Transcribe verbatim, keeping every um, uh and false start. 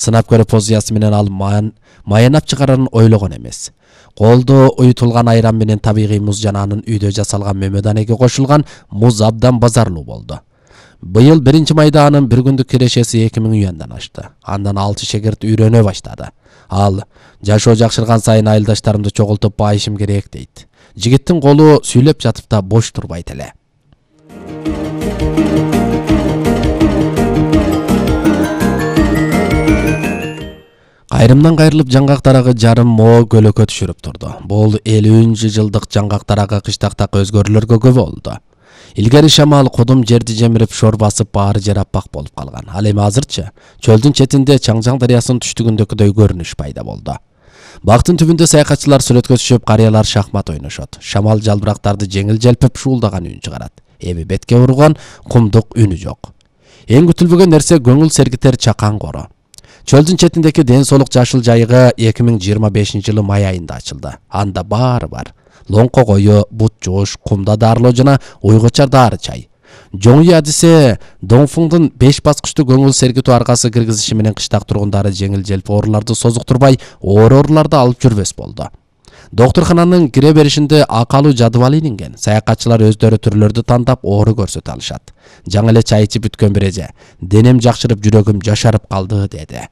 Сынап көрүү позициясы менен ал маянап чыгарарын ойлогон эмес. Колдо уютулган айран менен табигый муз жана анын үйдө жасалган мөмөданеге кошулган муз абдан базарлуу болду. Быйыл биринчи майда анын бир күндүк кирешеси эки миң юандан ашты. Андан алты шегирт үйрөнө баштады. Ал жашоо жакшырган сайын айылдаштарымды чогултуп байышым керек дейт. Жигиттин колу сүйлөп жатып да бош турбайт эле. Кайрымдан кайрылып жаңгак дарагы жарым мо көлөкө түшүрүп турду. Бул элүүнчү жылдык жаңгак дарагы кыштактагы өзгөрүүлөргө күбө болду. Илгери шамал кудум жерди жемирип шор басып баары жер аппак болуп калган. Ал эми азырчы чөлдүн четинде Чаңжаң дарыясынын түштүгүндөгүдөй көрүнүш пайда болду. Бактын түбүндө саякатчылар сүрөткө түшүп, карыялар шахмат ойношот. Шамал жалбырактарды жеңил желпип шуулдаган үн чыгарат. Эми бетке урган кумдук үнү жок. Эң күтүлбөгөн нерсе көңүл сергитер чакан кору. Чөлдүн четиндеки ден соолук жашыл жайыгы эки миң жыйырма бешинчи жылы май айында ачылды. Анда баары бар. Лоңко кою, бут жууш, кумда дарылоо жана уйгучар дары чай. Жоңуй адисе Доңфуңдун беш баскычтуу көңүл сергитүү аркасы киргизиши менен кыштак тургундары жеңил желпи ооруларды созуктурбай, оор ооруларды алып жүрбөс болду. Доктурхананын кире беришинде акалуу жадыбал илинген. Саякатчылар өздөрү түрлөрдү тандап оору көрсөтө алышат. Жаңы эле чай ичип бүткөн бир эже: "Денем жакшырып, жүрөгүм жашарып калды" деди.